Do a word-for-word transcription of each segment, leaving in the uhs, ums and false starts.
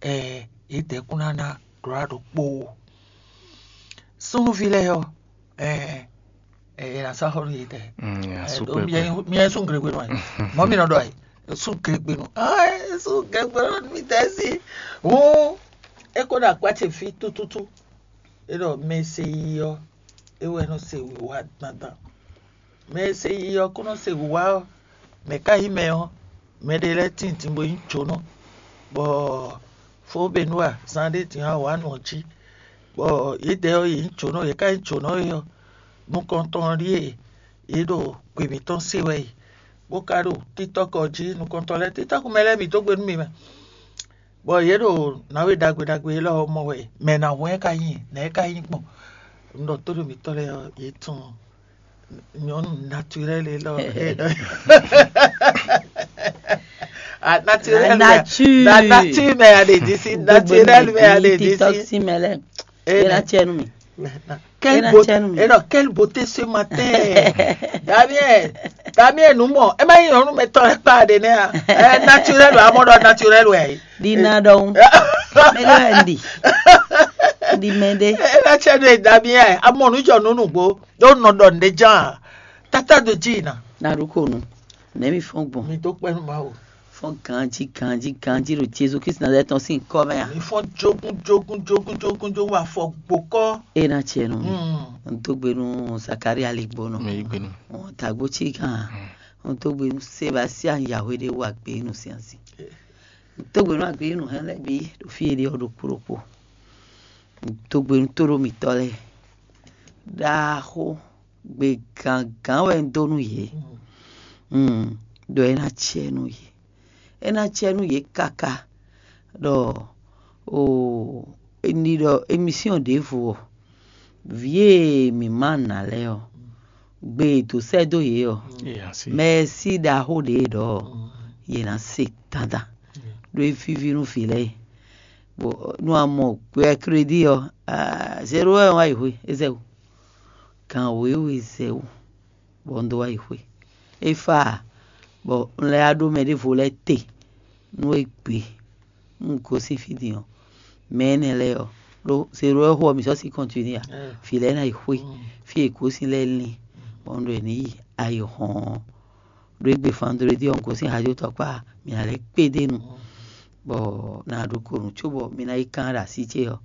Ɛɛ, yědɛɛ kún ná ná glɔ̌ ɖokpó ó. Súnnuví lɛ́ɛ ɔ́, ɛɛ, ɛɛ, è nǎ sɔ́ xó nú yědɛɛ. Ɛ, ɖó mi wɛ mi wɛ súnglegbenu ɛ. Mɔ̌ mi nɔ ɖɔ ɛ, súnglegbenu. Aa, súnglegbenu nú mi tɛ́ sí. Hǔn é kó ɖo akwá ce fí tútútú. É ɖɔ mɛ e se yi ɔ́, é wɛ nɔ se wǐwá dandan. Mɛ e se yi ɔ́ kún nɔ se wǐwá ɔ́, mɛ̌ ka nyí mɛ ɔ́? Mɛɖé lɛ́ɛ tintin bó nyí jǒnɔ, bɔ fó Benua zán ɖé din ɔ́ wǎ nǔ ɔ́ jí, bɔ yědɛɛ ɔ́, yě nyí jǒnɔ, yě ka nyí jǒnɔ é ɔ́, nukɔntɔn ɔ́ ɖíe yě ɖo gbě mǐtɔn se wɛ e, bó ka ɖo títɔ́kɔ jí nukɔntɔn lɛ́ɛ, títɔ́kú mɛ lɛ́ɛ bǐ dó gbe nú mi mɛ, bɔ yě ɖo nǎwe ɖagbe ɖagbe élɔ́ ɔ́ mɔ wɛ, mɛ nǎ hwɛ́n ka nyí, nɛ̌ ka nyí gbɔn? Un ɖɔ tóɖo mǐtɔn lɛ́ɛ ɔ́, yě tunwun nyɔ̌nu naturel élɔ́. Ah, naturel, la nature, la nature mɛ ya ɖe disi, naturel mɛ ya ɖe disi. Tɔxi mɛ lɛ. Ena tiɛ nu mi. Quelle beauté, et non, quelle beauté ce matin. Damien, Damien, nous mɔ. E ma yi nyɔnu mɛ tɔn lɛ kpa ɖe nɛ a? Eh, naturel wa, amɔ ɖɔ naturel wɛ. Di na ɖɔhun. Mɛ ɖe wɛ ndi. Di mɛ ɖe. Ena tiɛ nu Damien, amɔ nu jɔ nu nugbo. Ɖó nɔ ɖɔ nɖe jan. Tata do ji na. Na ɖo ko nu. Nɛ mi fɔn gbɔn. Mi dó kpɛ́ nú Mawu. Fɔn ganji ganji ganji ɖo Jezu Kristi Nazalɛ́ti tɔn sín kɔ mɛ a? Mi fɔn jogun jogun jogun jogun jogun afɔ gbokɔ. E na tiɛ nɔ mi. Un dó gbe nú Zakaria ligbónɔ. Mi yí gbe nú. Un tagbo cí gan. Un dó gbe nú Sebastien Yahweh ɖe wú agbe nú siansi. Un dó gbe nú agbe nú hɛn lɛ́ɛ bǐ ɖo fí e ɖe ɔ́ ɖokpó ɖokpó. Un dó gbe nú tóɖó mǐtɔn lɛ́ɛ. Ɖaxó gbe gǎngán wɛ un dó nú yě. Un ɖɔ é ná acɛ nú yě. É ná acɛ nú yě káká ɖɔ o, ní ɖɔ émisíɔn ɖěvo ɔ́, vǐ e mǐ ma nǎ lɛ́ɛ ɔ́, gbe e dǒ sɛ́ dó yě ɔ́, mɛsí ɖaxó ɖě e ɖɔ ɔ́, yě ná se dandan ɖó é víví nú vǐ lɛ́ɛ. Bɔ nú a mɔ gbɛ krédí ɔ́, zéro wɛ wá yi hwe é zɛ wú. Gan wěwe zɛ wú, bɔ un dó wá yi xwé. É fá ǎ, bɔ un lɛ́ wá ɖó mɛ ɖěvo lɛ́ɛ te nú égbé. Un gosín fí din ɔ́, mɛ énɛ́ lɛ́ɛ ɔ́, ɖó zéro wɛ xo ɔ́, mǐ sɔ́ sí kɔntinué ǎ. Vǐ lɛ́ɛ ná yi xwé, fí e è gosín lɛ́ɛ lín, bɔ un ɖɔ è ní yi ayǐhɔ́n ɔ́. Ɖó égbé fandredi ɔ́, un gosín Hajo tɔkpá, mǐ ná lɛ́ kpédé nu, bɔ ná ɖó ko nǔ cóbɔ mi ná yi kán ɖo así ce ɔ́,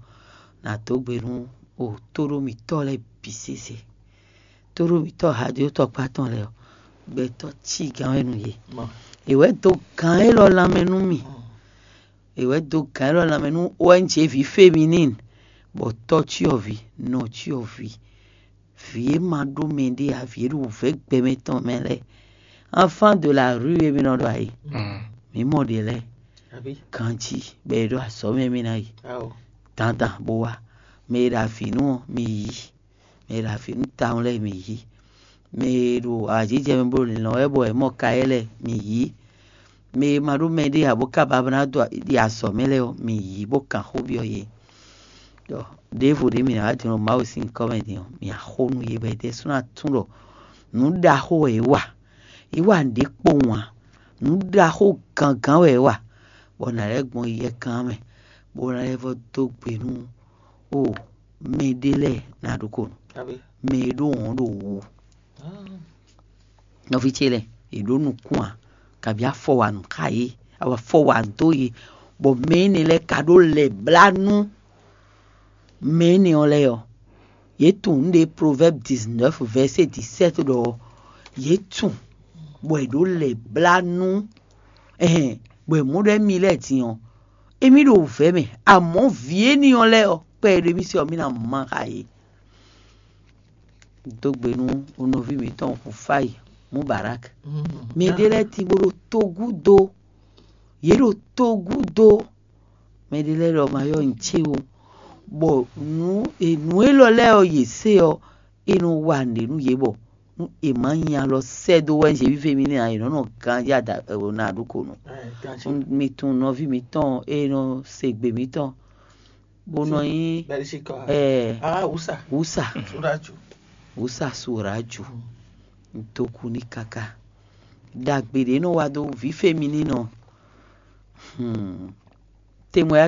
ná dó gbe nú o tóɖó mǐtɔn lɛ́ɛ bǐ sésé. Tóɖó mǐtɔn Hajo tɔkpá tɔn lɛ́ɛ ɔ́, gbɛtɔ́ cí gán wɛ nú yě. È wɛ dó gǎn élɔ́ lanmɛ nú mì. È wɛ dó gǎn élɔ́ lanmɛ nú O N G ví féminin, bɔ tɔ́ cyɔ́vǐ, nɔ cyɔ́vǐ, vǐ e ma ɖó mɛɖé ǎ, vǐ e ɖo wǔvɛ́ gbɛmɛ tɔn mɛ lɛ́ɛ, enfant de la rue e mi nɔ ɖɔ ayǐ. Mǐ mɔ ɖě lɛ́ɛ ganjí bɔ è ɖo azɔ̌ mɛ mì ná yi dandan bó wá. Mɛ e ɖo avǐ nú ɔ́, mi yí. Mɛ e ɖo avǐ nú tawun lɛ́ɛ, mi yí. Mɛ e ɖo awǎjijɛ mɛ bó ɖo lǐnlɔ́n wɛ bɔ è mɔ kayɛ́ lɛ́ɛ, mi yí. Mɛ e ma ɖó mɛɖé ǎ bó ka ba ná dó yi azɔ̌ mɛ lɛ́ɛ ɔ́, mi yí bó kan xó byɔ́ yě. Ɖɔ ɖěvo ɖě mǐ ná wá din ɖo Mawu sín nyǐkɔ mɛ din ɔ́, mǐ axó nú yě bɔ yě ɖésú ná tunwun ɖɔ nǔ ɖaxó wɛ yě wa. Yě wa nǔɖé kpowun ǎ. Nǔ ɖaxó gangán wɛ yě wa, bɔ nǎ lɛ́ gbɔn yɛkan mɛ, bó ná lɛ́ vɔ dó gbe nú o mɛɖé lɛ́ɛ ná ɖó ko nú mɛ e ɖó wɔ̌n ɖo wǔ. Nɔví ce lɛ́ɛ, è ɖǒ nukún ǎ, kabi afɔ wa nǔ xá yě, afɔ wa dó yě, bɔ mɛ énɛ́ lɛ́ɛ ka ɖó lɛ̌ blá nú mɛ énɛ́ ɔ́ lɛ́ɛ ɔ́. Yě tunwun nǔɖé Proverbes dix-neuf verset dix-sept ɖɔ ɔ́, yě tunwun, bɔ è ɖǒ lɛ̌ blá nú ɛhɛn, bɔ è mɔ ɖɔ émí lɛ́ɛ din ɔ́, émí ɖo wǔvɛ́ mɛ, amɔ̌ vǐ énɛ́ ɔ́ lɛ́ɛ ɔ́, kpɛɖé mì se ɔ́, mì ná má xá yě. Dó gbe nú nɔví mǐtɔn Hufáyi Mubarak. Mɛ ɖé lɛ́ɛ tín bó ɖo togúdo, yě ɖo togúdo. Mɛ ɖé lɛ́ɛ ɖɔ ma yɔ nyi ce o, bɔ nǔ nǔ élɔ́ lɛ́ɛ ɔ́ yě se ɔ́, é nɔ wa nǔɖé nú yě bɔ nú è má nyi alɔ sɛ́ dó wɛ zěvívé mì nɛ́ ǎ, è nɔ́ nɔ ganjí ada ná ɖu ko nú. Mi tunwun nɔví mǐtɔn e nɔ se gbe mǐtɔn bó nɔ nyí Belgique ɔ́. Ɛɛ Ah, Usa. Wusa. Suraju. Wusa Suraju. Doku ní kaka. Ɖagbe ɖě nɔ wa dó vǐ fémininɔ. Hmm. Témoignage